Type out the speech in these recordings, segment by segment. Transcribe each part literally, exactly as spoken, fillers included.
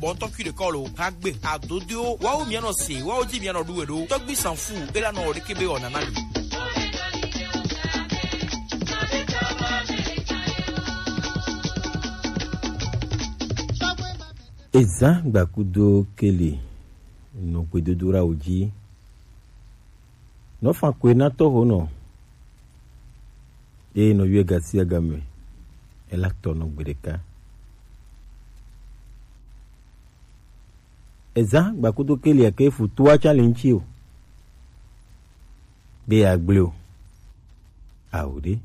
Ɔntɔ kui ɖe kɔ lo, hagbe, adodoewo, wawo mia nɔ se, wawo ji mia nɔ ɖu we ɖo. Tɔgbi sanfu, ela nɔ ɖeke be ɔ nana mi. Ezã gbakudo keli nɔ gbedodoɖawo ji. Nɔ fan koe na tɔxo nɔ. Eye nɔ yɔe gasi agame. Ela tɔ nɔ gbe ɖeka. Ezã gbakudo keli ake fu toa ca le ŋuti o. Be ya gble o. Awo ɖe.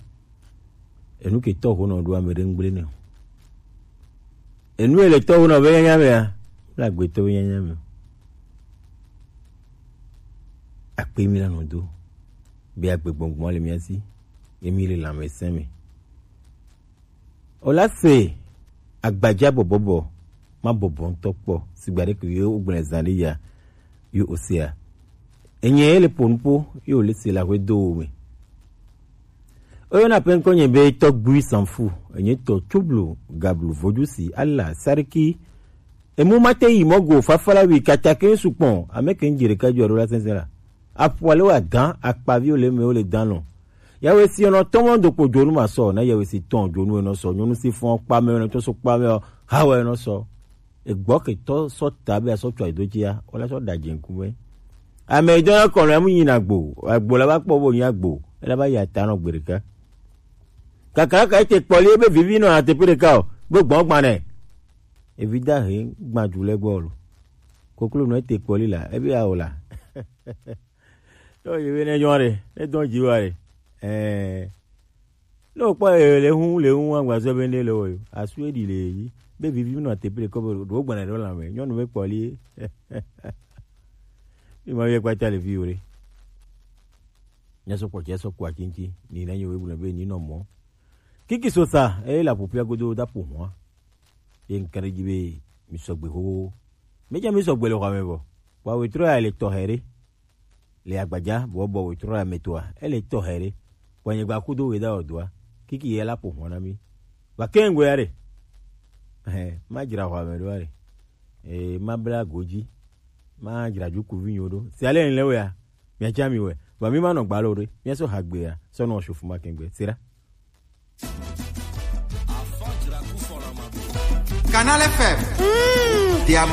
Enu ke tɔxo nɔ ɖo ame ɖe ŋgble nɛ o. Enu ele tɔxo nɔ be nyanya mea, la gbetɔ be nyanya me o. Akpe mi la nɔ do. Be agbe gbɔngbɔn le mia si. Emi le lãmesẽ me. O la se agbaja bɔbɔbɔ, ma bɔbɔ ŋutɔ kpɔ, sigba ɖe ke yo gblẽ zã ɖe ya, yo o sea. Enye ele po nupo, yo le se la hwe do wo me. Oyɔna pe ŋkɔ nye be tɔgbui sanfu, enye tɔ tsoblo, gablu, vojusi, ala, sariki, emu mate yi mɔgo, fafala wi, katake sukpɔn, ame ke ŋdzi ɖeka jɔ ɖo la sɛnsɛn la. Aƒua le wa dan, akpaviwo le me wo le dan lɔ. Yawe si nɔ tɔmɔ do kpo dzonu ma sɔ, na yawe si tɔn dzonu enɔ sɔ, nyɔnu si fɔn kpa me, enɔ tɔ so kpa me, hawa enɔ sɔ. Egbɔ ke tɔ sɔ ta be asɔ tsɔ edo tsia, wala sɔ da dze ŋkume. Ame yi dɔna kɔnɔ emu yi na gbo, agbo la ba kpɔ bo nya gbo, ela ba ya ta nɔ gbe ɖeka. Kakaka ete kpɔli ebe vivi nɔ ateƒe ɖeka o, gbe gbɔn gbanɛ. Evi da he gbadu le gbɔ lo. Koklo nɔ ete kpɔli la, ebe awo la. Yo, ye be ne nyɔ ɖe, ne dɔn dzi wa ɖe. Eh. Ne wokpɔ ye le hu, le hu, agbazɔ be ne le wo yo. Asu eɖi le yi. Be vivi nɔ ateƒe ɖeka be ɖo gbanɛ ɖo la me. Nyɔnu be kpɔli. Ni ma ye kpata le vi wo ɖe. Nya sɔ kpɔ, nya sɔ kpɔ akinki. Ni na nyo we bu na be ni nɔ mɔ. Kiki sosa, e la popia godo da po hwa. Ye ŋkare dzi be mi sɔgbe xoxo. Mi dze mi sɔgbe le xɔa me vɔ. Wa wetrɔ ya le tɔxɛ ɖe. Le agbaja bɔbɔ wetrɔ ya me toa. Ele tɔxɛ ɖe. Wa nyigba kudo we da odoa. Kiki ye la po hwa na mi. Wa ke ŋgbe ya ɖe. Eh, ma dzra xɔa me ɖo ya ɖe. Eh, ma bla godzi. Ma dzra dzukuvi nyo ɖo. Si ale le wea. Mia dza mi we. Wa mi ma nɔ gbalo ɖe. Mia so hagbe ya. Sɔ nɔ shofu ma kengbe. Sira. Canal F M. Mm. Their